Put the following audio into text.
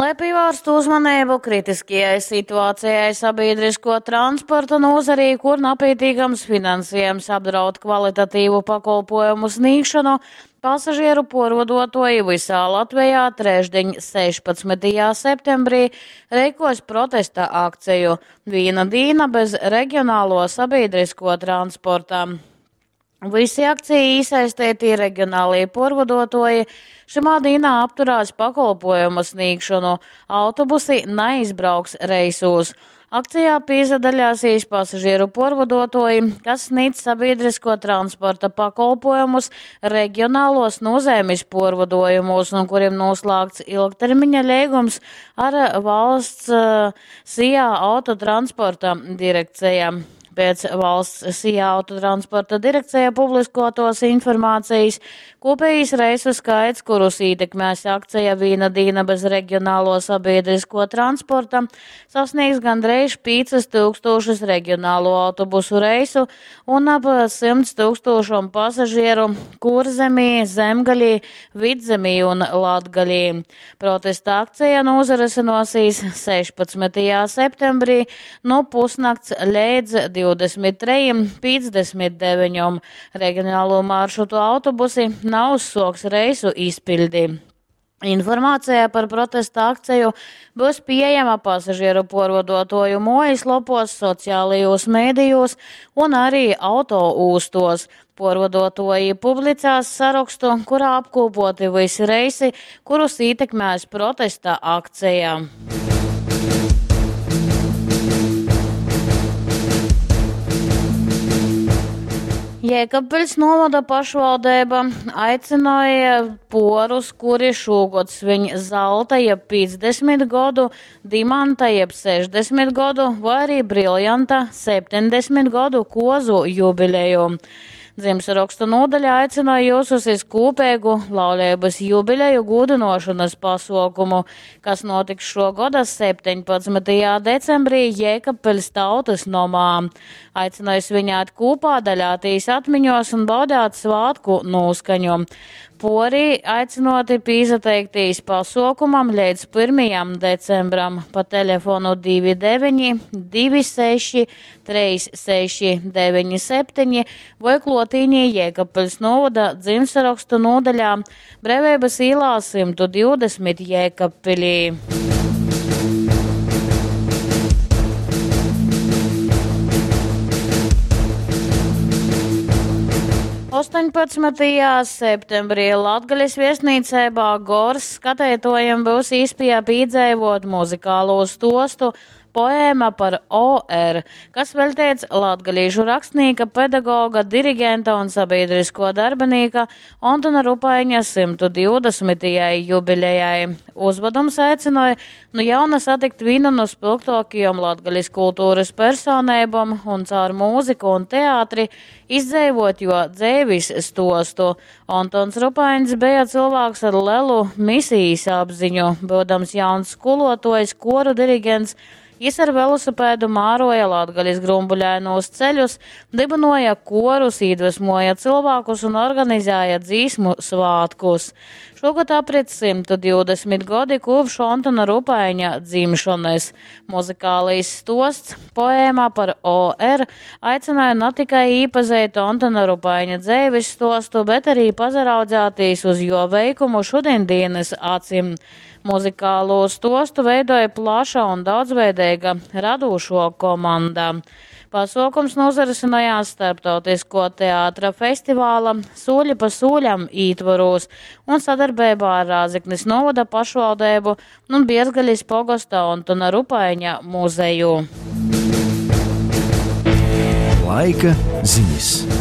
Lai pīvārstu uzmaneibu kritiskajai situācijai sabiedrisko transporta nozarī, kur napītīkams finansējums apdraud kvalitatīvu pakolpojumu sniegšanu, pasažieru puorvoduotuoji visā Latvijā trešdiņ, 16. septembrī, reikos protesta akciju Vīna dīna bez regionālo sabiedrisko transporta. Visi akcijā īsaistītie regionālie puorvoduotuoji šymā dīnā apturās pakolpojumu sniegšanu, autobusi naizbrauks reisūs. Akcijā pīsadaļāsīs pasažieru puorvoduotuoji, kas sniedz sabiedrisko transporta pakolpojumus regionālos nozeimis puorvoduojumūs un kurim noslēgts ilgtermiņa leigums ar valsts SIA autotransporta direkcija. Pēc valsts SIA autotransporta direkcija publiskotos informācijas kopējais reisu skaits, kurus ietekmēs akcija Vīna dīna bez regionālo sabiedrisko transporta, sasniegs gandrīz 5000 regionālo autobusu reisu un ap 100 tūkstošiem pasažieru Kurzemī, Zemgalī, Vidzemī un Latgalī. Protesta akcija norisināsies 16. septembrī no pusnakts līdz 23.59. Regionālo maršrutu autobusi nav uzsoks reisu izpildi. Informācija par protesta akciju būs pieejama pasažieru puorvoduotuoju muojaslopos, sociālajos mēdījos un arī autoūstos. Puorvoduotuoji publicēs sarakstu, kurā apkopoti visi reisi, kurus ietekmēs protesta akcija. Jēkabpiļs novada pašvaldība aicināja porus, kuri šogad sviņ zelta jeb 50 godu, dimanta jeb 60 godu vai arī briljanta 70 godu kozu jubileju. Dzimšanrakstu nodaļa aicināja jūs uz kopīgu laulības jubileju gūdinošanas pasaukumu, kas notiks šogada 17. decembrī Jēkabpils tautas nomā. Aicināja svinēt kopā, daļātīs atmiņos un baudāt svātku noskaņu. Pori aicinoti pīsateiktīs pasaukumam līdz 1. decembram pa telefonu 29 26 36 97 vai klotīnī Jēkabpils novada dzimšanrakstu nodaļā Brevības īlā 120 Jēkabpilī. 18. septembrī Latgales viesnīcībā Gors skatētojiem būs īspēja piedzīvot muzikālo stostu poēma par OR, kas veltīts latgalīšu rakstnieka, pedagoga, dirigenta un sabiedrisko darbinīka Ontona Rupaiņa 120. jubilejai. Uzvedums aicināja nu jauna satikt vienu no spilgtākajām latgales kultūras personībām un caur mūziku un teātri izdzīvot jo dzēvis stostu. Ontons Rupaiņs bija cilvēks ar lielu misijas apziņu, būdams jauns skolotājs, koru diriģents. Jis ar velosipēdu māroja Latgales grumbuļainos ceļus, dibinoja korus, iedvesmoja cilvēkus un organizēja dzīsmu svātkus. Šogad aprit 120 gadi kopš Ontona Rupaiņa dzimšanas. Muzikālais stosts poēmā par OR aicināja ne tikai īpazīt Ontona Rupaiņa dzēvis stostu, bet arī pazaraudzētīs uz jo veikumu šodienas acim. Muzikālo stostu veidoja plaša un daudzveidīga radošo komanda. Pasaukums nozarisinājās starptautisko teātra festivāla Soļi pa soļam ītvaros un sadarbībā ar Rāzeknis novada pašvaldību un Bierzgaļas pogosta Ontona Rupaiņa muzeju. Laika ziņas.